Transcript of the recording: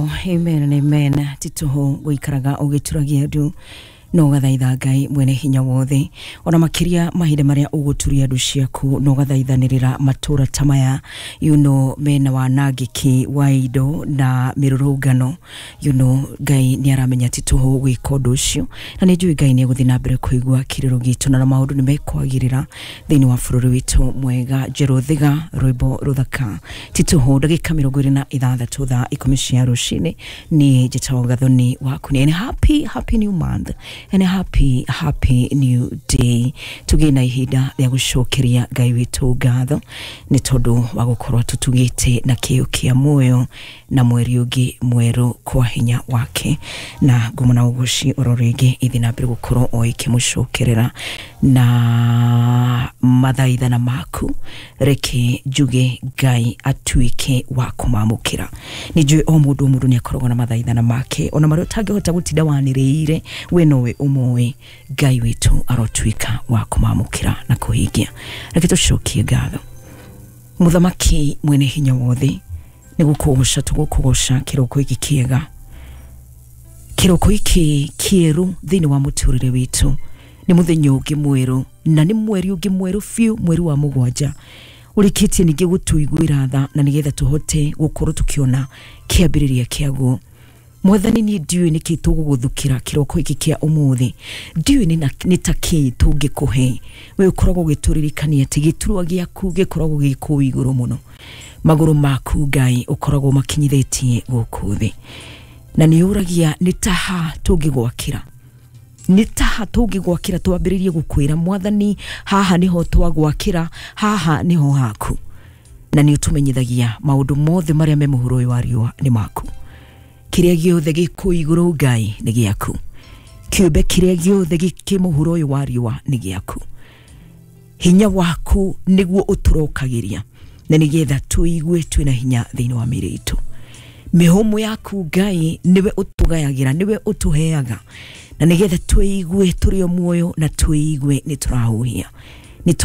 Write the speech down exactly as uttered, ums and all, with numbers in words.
Wow, amen and amen. Tituhu guikaraga ugituragia ndu no gathaitha Ngai mwene hinya wothe ona makiria mahinda maria uguturia ndu ciaku no gathaithanirira matura ta maya, you know mena wanangiki wa indo na mirurungano, you know Ngai ni aramenya tituhu gwika undu ucio na ni njui Ngai ni eguthii na mbere kuigua kiriro gitu na maundu ni mekwagirira thiini wa bururi witu mwega. Jeruthiga rwimbo ruthaka tituhu ndagika mirongo iri na ithathatu thaa ikumi cia rucini ni njitagwo Gathoni waku ni. And happy happy new month and a happy happy new day. Tugie na ihinda rĩa gũcokeria Ngai witũ ngatho nĩ tondũ wa gũkorwo tũtugĩte na kĩo kĩa muoyo na mweri ũngĩ mwerũ kwa hinya wake, na ngumo na ũgoci oro rĩngĩ ithi na mbere gũkorwo o ikĩmũcokerera na mathaithana maku. Reke njuge Ngai atuĩke wa kũmamũkĩra. Nĩ njũĩ o mũndũ o mũndũ nĩ akoragwo na mathaithana make ona marĩa ũtangĩhota gũtinda wanĩrĩire we nowe ũmoĩ. Ngai witũ arotuĩka wa kũmamũkĩra na kũhingia. Reke tũcokie ngatho. Mũthamaki mwene hinya wothe, nĩ gũkũgoca tũgũkũgoca kĩroko gĩkĩ kĩega, kĩroko gĩkĩ kĩerũ thĩinĩ wa mũtũrĩre witũ. Nĩ mũthenya ũngĩ mwerũ na nĩ mweri ũngĩ mwerũ biũ, mweri wa mũgwanja ũrĩkĩtie ningĩ gũtũiguĩra tha na nĩgetha tũhote gũkorwo tũkĩona kĩambĩrĩria kĩaguo. Mwathani, niĩ ndiũĩ nĩkĩ tũgũgũthukĩra kĩroko gĩkĩ kĩa ũmũthĩ, ndiũĩ nĩ ta kĩ tũngĩkũhe. We ũkoragwo ũgĩtũririkania atĩ gĩturwa gĩaku gĩkoragwo gĩ kũu igũrũ mũno, magũrũ maku Ngai ũkoragwo makinyithĩtie gũkũ thĩ, na nĩ ũragia nĩ taha tũngĩgwakĩra, nĩ taha tũngĩgwakĩra twambĩrĩrie gũkwĩra Mwathani, haha nĩho twagwakĩra, haha nĩho haku. Na nĩ ũtũmenyithagia maũndũ mothe marĩa me mũhuro ũyũ wa riũa nĩ maku. Kĩrĩa gĩothe gĩ kũu igũrũ Ngai nĩ gĩaku, kĩũmbe kĩrĩa gĩothe gĩ mũhuro ũyũ wa riũa nĩ gĩaku. Hinya waku nĩguo ũtũrokagĩria na nĩgetha tũigue twĩna hinya thĩinĩ wa mĩĩrĩ itũ. Mĩhũmũ yaku Ngai nĩwe ũtũgayagĩra, nĩwe ũtũheaga na nĩgetha tũigue tũrĩ o muoyo na tũigue nĩ tũrahuhia.